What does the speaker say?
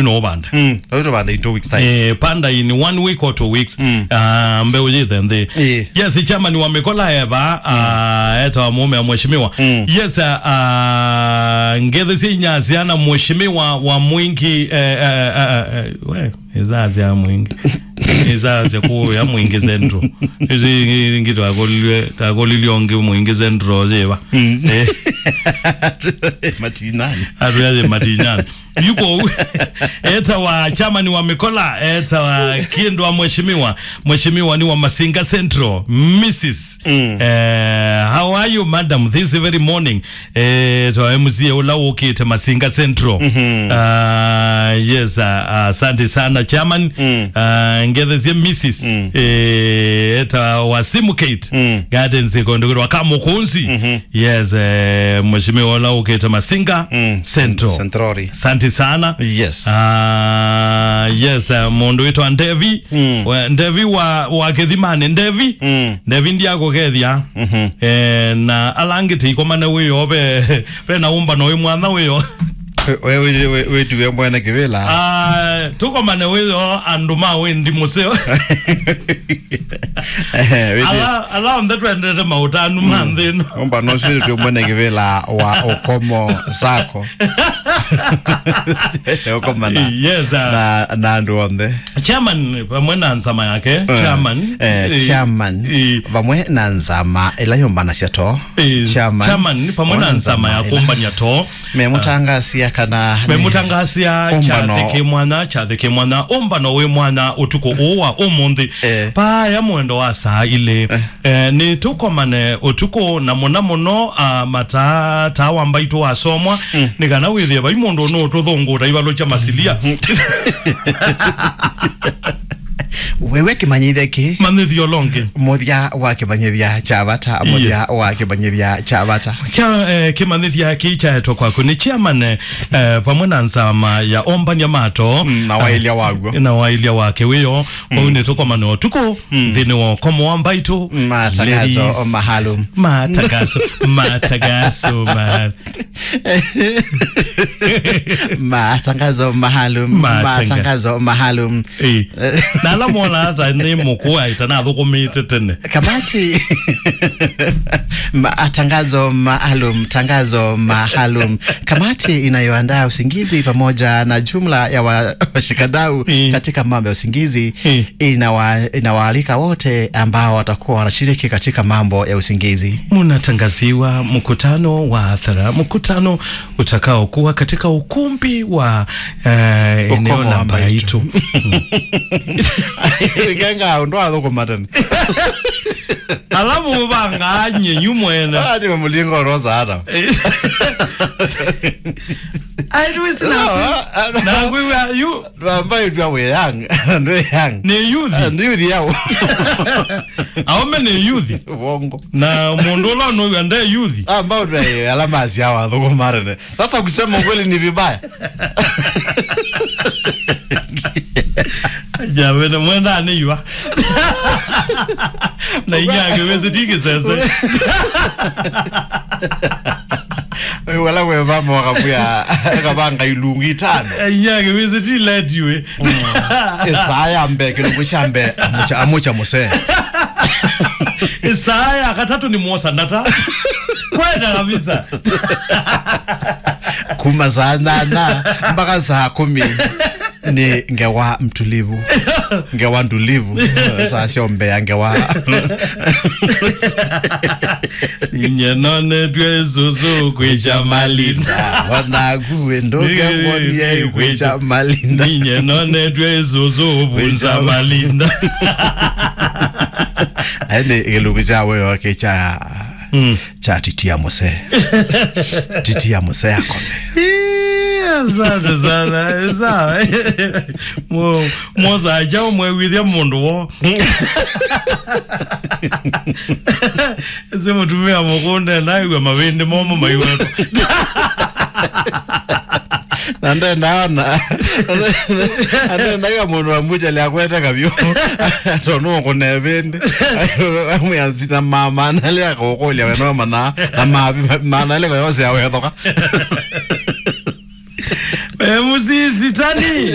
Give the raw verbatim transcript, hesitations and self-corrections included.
no ũvanda. Mm, no tũvanda in two weeks time. Eh, panda in one week or two weeks. Mm. Ah, mbeũ yĩthe nthĩ. Eh. Yes, chairman wa Mĩkola eva, ah, etawa mũũme wa mheshimiwa. Mm. Yes, ah, ah, ngethe sya inyasya na mheshimiwa wa Mwingi, eh, eh, eh, eh, we, izasya Mwingi. Izasya kũya Mwingi Central. Ici ingi twakolilwe, twakolilwe ongi Mwingi Central ziva. Mm. Eh. Matinani. Atuyaje Matinani. Yuko etawa chairman wa Mĩkola, etawa Kindwa mheshimiwa. Mheshimiwa nĩ wa Masinga Central, missus. Mm. Eh, how are you, madam, this very morning? Eh, so M C A ũla ũkĩte Masinga Central. Mhm. Ah, yes, ah, ah, asante sana, chairman. Mm. Ah, ngethesie missus. Mm. Eh, etawa Simu Kate. Mm. Gardens, kũndũ kwĩtwa Kamũkũnzi. Mhm. Yes, eh, mheshimiwa ũla ũkĩte Masinga Mm. Central. Centrori. Asante sana. Yes. Ah, yes, eh, mũndũ wĩtwa Ndevi. Mm. We, Ndevi wa, wa Kĩthimani. Ndevi. Mm. Ndevi ndiakũkethya. Mhm. Eh, na ala angĩ tĩikomane wĩoo, ve, ve na ũmbano wĩ mwanya wĩoo. We, we, we, we, wĩtuwe mwene kĩvĩla. Ah, tũkomane wĩoo andũ ma wĩndi mũseo. Eh, wĩti- Ala, ala onthe twendete maũtanu ma nthĩ ĩno. Ũmbano ũsu wĩtwĩ mwene kĩvĩla wa Ũkomo Sacco. Ũkomana Yes, ah. na, na andũ onthe. Chairman vamwe na nzama yake, Eh, chairman. eh, Eh, chairman. eh. Vamwe na nzama ĩla yũmbanasya too. Eh, Chairman. Chairman, vamwe na Ona nzama ya nzama ĩla. kũmbany'a too. Memũtangasia kana nĩ Memũtangasia ũmbano. kyathĩ kĩ mwanya, kyathĩ kĩ mwanya, ũmbano wĩ mwanya ũtukũ ũũ wa ũmũnthĩ. Eh. Vaya mwendo wa saa ilĩ. Eh. Eh, nĩ tũkomane ũtukũ na mũna mũno, ah, mataa, taa wa mbaitũ wasomwa, Mm. nĩ kana wĩthĩe vai mũndũ nũtũthũngũta ivalũ kya masilia. Wewe kĩmanyĩthya kĩ? Manyĩthya ũla ũngĩ. Mũthya wa kĩmanyĩthya kya vata, Iye. mũthya wa kĩmanyĩthya kya vata. Kya, eh, kĩmanyĩthya kĩ kyaetwa kwaku nĩ chairman, eh, vamwe na nzama ya ombania mato. Mm, na waĩlya waw'o. Na waĩlya wake wĩoo. Kwoou Mm. nĩ tũkomane ũtukũ, Mm. nthĩnĩ wa ũkomo wa mbaitũ. Matangazo Ladies. maalum. Matangazo, matangazo maalum. Matangazo maalum. Matanga- Matangazo maalum. Eh. Na ala mona ata nĩ mũkũa itanathũkũmĩte tene. Kamati. Matangazo maalum, tangazo maalum. Kamati inayoandaa usingizi pamoja na jumla ya wa-, washikadau Eh. katika mambo ya usingizi Eh. inawa-, inawaalika wote ambao watakuwa wanashiriki katika mambo ya usingizi. Mnatangaziwa mkutano wa hadhara, mkutano utakaokuwa katika ukumbi wa, eh, eneo Ũkomo la wa Mbaitu. Mbaitu. Kenga, ũndũ athũkũma tene. Alafu mubanga nye yu mwene. Ah, nĩ mũlingo rosa ata. Ai, tuwe sina. Ah, ah, ah. Na ngwiwa yu. Twamba itwa we young. Ndwe young. Nĩ youth. Ah, nĩ youth yao. Aome nĩ youth. Wongo. Na mũndũ ũla nũw'a nde youth. Amba utwa ala masi hawa thoko marene. Sasa kusema ukweli ni vibaya. Aja, wena mwenda aneiwa. Na inyake wezi tiki sese. Wala we vamo wakabuya, akabanga ilungu itano. Inyake wezi ti let you. Ĩsaa ya mbee, kĩlungu kya mbee, amũkya, amũkya mũsee. Ĩsaa ya katatũ nĩ mwosa ndata. Kwenda kabisa. Kuma saa nyanya mpaka saa kũmi nĩ ngewa mtulivu. Ngewa ndulivu. Saa syombea ngewa. Ninye nonetwe ĩsũsũ kwĩkya malinda. Wanaku ndũke mwonie kwĩkya malinda. Ninye nonetwe ĩsũsũ vunza malinda. Aĩ nĩ kĩlungu kya wĩoo kĩ kya, Mm. kya titia mũsee. Titia mũsee akome. Ii, asante sana. Sawa. Mo-, mosa aja ũmwewithya mũndũ wo. Ese mũtumĩa mũkũnde ndaigua mavĩndĩ momũ maiwetwa. Na ndenda ona. Ndenda ya mũndũ wa mbucha lya kwete kavyo. Tondũ ũkũne vĩndĩ. Amwe asina mama analea kũkũlya weno mana. Na mavi mana ile kwa yose awethoka. Eh, musisi tani.